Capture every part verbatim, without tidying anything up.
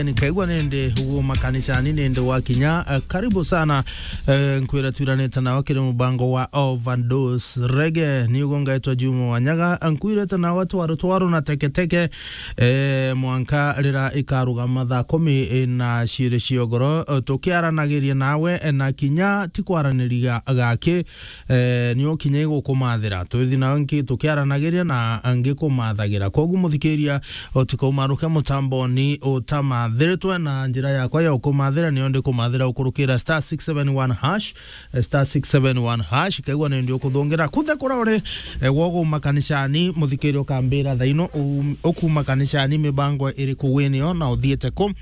Nikaigua nindi uguo makanisani nindi wakinya. Eh, karibu sana. Eh, nkwira twiranite nawe kiri mubango wa Overdose Reggae. Ni uguo ngaitwa Juma Wanyaga. Nkwirite nawe twaro twaro na teketeke, eh, mwanka rira ikarugama thaa kumi na ciiri ciogoro, eh, tukiaranagiria nawe, eh, na kinya ti kwaraniria gaki, eh, ni ukinya igukumathira. Twithi nawe nki tukiaranagiria na ngikumathagira. Koguo muthikiria, utikaumaruke mutamboni utamathiritwe, na njira yakwa ya ukumathira niyo ndikumathira ukurukira star six seven one hash, eh, star six seven one hash, kaigua ni ndio kuthungira kuthe kura uri, eh, wogo makanisani, muthikiria ukambira thaino u-, ukuma kanisani mibango iriku winio na uthiete ku.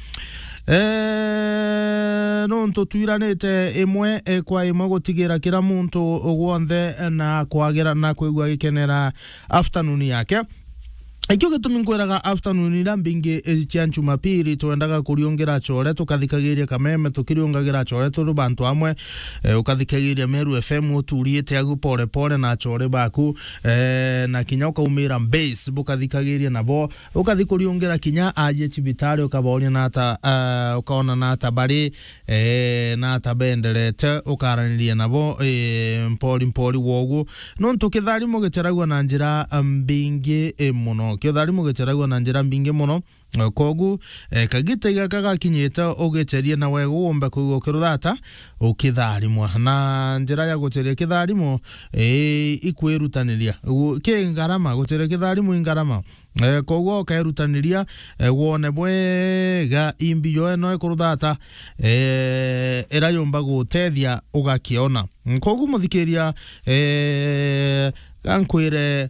Eh, nontu twiranite imwe, eh, kwa imwe gutigira kira muntu gwonthe, eh, na kwagira na kwigua gikenera afternoon yake. Ikio gitumi nkwiraga afternoon ira mbingi, eh, cia Jumapili twendaga kuriungira chore, tukathikagiria kameme, tukiriungagira chore turi bantu amwe, eh, ukathikagiria Meru F M uturiite agu pore pore na chore baku, eh, na kinya ukaumira base, bukathikagiria nabo, ukathi kuriungira kinya aje cibitari, ukaboria na ata, eh, ukaona na ata bari, eh, na ata benderete, ukaraniria nabo, eh, mpori mpori wogu. Nontu kitharimo gicheragua na njira, eh, mbingi, eh, muno. Kitharimo gicheragua na njira mbingi muno. Eh, kogu, eh, kagita gaka gakinyite, ugicherie na wega uumbe kwigua ukiruthata, ukitharimwa. Na njira ya gucheria kitharimo, eh, ikwirutaniria. Gu-, ki ngarama, gucheria kitharimo i ngarama. Eh, koguo ukerutaniria, eh, wone bwega imbi yo eno ikuruthata, eh, ira yumba gutethia ugakiona. Mm, koguo muthikiria, eh, gankwire,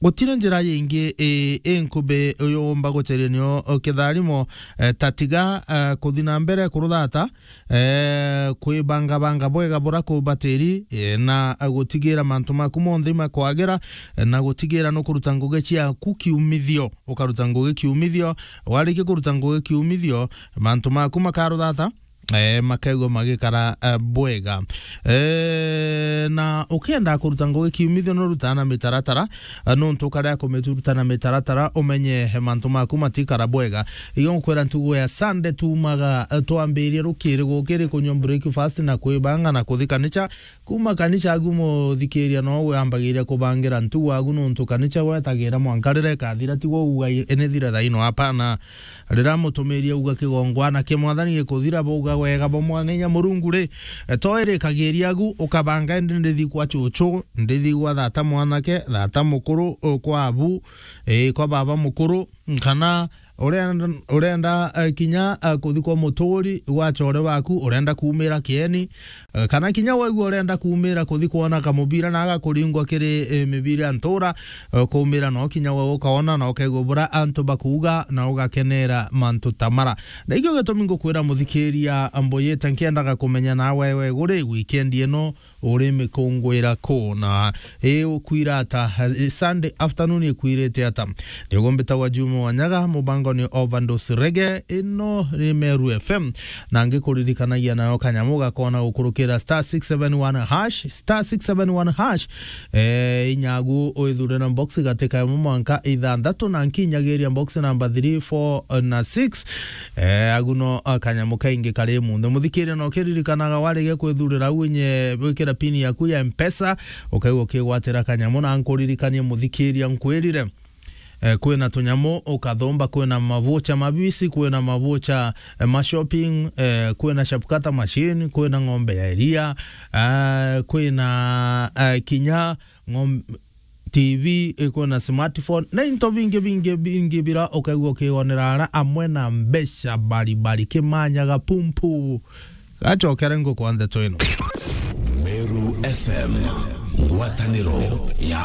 gutire njira yingi, eh, inkubi yumba gucheria nio kitharimo, eh, tatiga, eh, kuthi na mbere kuruthata, eh, kwibangabanga bwega bura kubatiri, eh, na gutigira mantu maku monthe imakwagira, eh, na gutigira nukuruta ngugi ciaku kiumithio, ukaruta ngugi kiumithio. Warikia kuruta ngugi kiumithio, mantu maku makaruthata, eh, makaigua magikara, eh, bwega. Eh, na ukienda kuruta ngugi kiumithio, nurutaa na mitaratara, eh, nontu ukaria kumituruta na mitaratara, umenye, eh, mantu maku matikara bwega. Iyo nkwira ntugo ya Sunday tumaga, eh, twambirie rukiri gukiri kunywa breakfast na kwibanga na kuthi kanica. Kuma kanica agu muthikiria no wambagiria kubangira ntugo agu nontu kanica gwetagira mwanka rira ikathira, tigwo uga i-, inithire thaino, hapana. Rira mutumiria uga kigongwana kia Mwathani gikuthira, buga wega bwa Mwana inya Murungu ri, e, to irikagiria agu, ukabanga indi ndithi kwa chuchu, ndithi gwa thata mwanake, thata mukuru, o, kwa abu, e, kwa baba mukuru, kana urenda, urenda, eh, kinya, eh, kuthi kwa muturi wa chore waku, urenda kuumira kieni, eh, kana kinya waigua urenda kuumira kuthi kwona kamubira na agakuringwa kiri, eh, mibira ya ntura, eh, kuumira no kinya we ukaona na ukaigua bura antu bakuuga na ugakenera mantu ta mara. Na ikio gitumi ngukwira muthikiria, mbuyite nkiendaga kumenya nawe we guri weekend ino, uri mikungwira ku na i ukwira ata? I Sunday afternoon ikwirite ata? Niguo mbitagwa Juma Wanyaga, mubango ni Overdose Reggae, ino ni Meru F M, na ngikuririkanagia nayo kanyamu gakona gukurukira star six seven one hash, star six seven one hash. Eh, inyagu withurira box gatika imwe mwanka ithanthatu, na nkinyagiria box number three, four na six. Eh, agu no, ah, kanyamu kaingi kari munthe. Muthikiria no kiririkanaga warege kwithurira au inye wikira pin yaku ya Mpesa, ukaigua ukigwatira kanyamu, na nkuririkanie muthikiria nkwirire, eh, kwina tunyamu ukathomba, kwina mavucha mabisi, kwina mavucha, eh, ma shopping, eh, kwina shapkata machine, kwina ng'ombe ya iria, ah, kwina, eh, kinya ng'om-, T V, ikwina smartphone, na into bingi, bingi, bingi bira ukaigua ukigonera ara amwe na mbeca baribari kimanyaga pumpu. Gacokere ngukwa ndeto ino. Meru F M, ngwataniro ya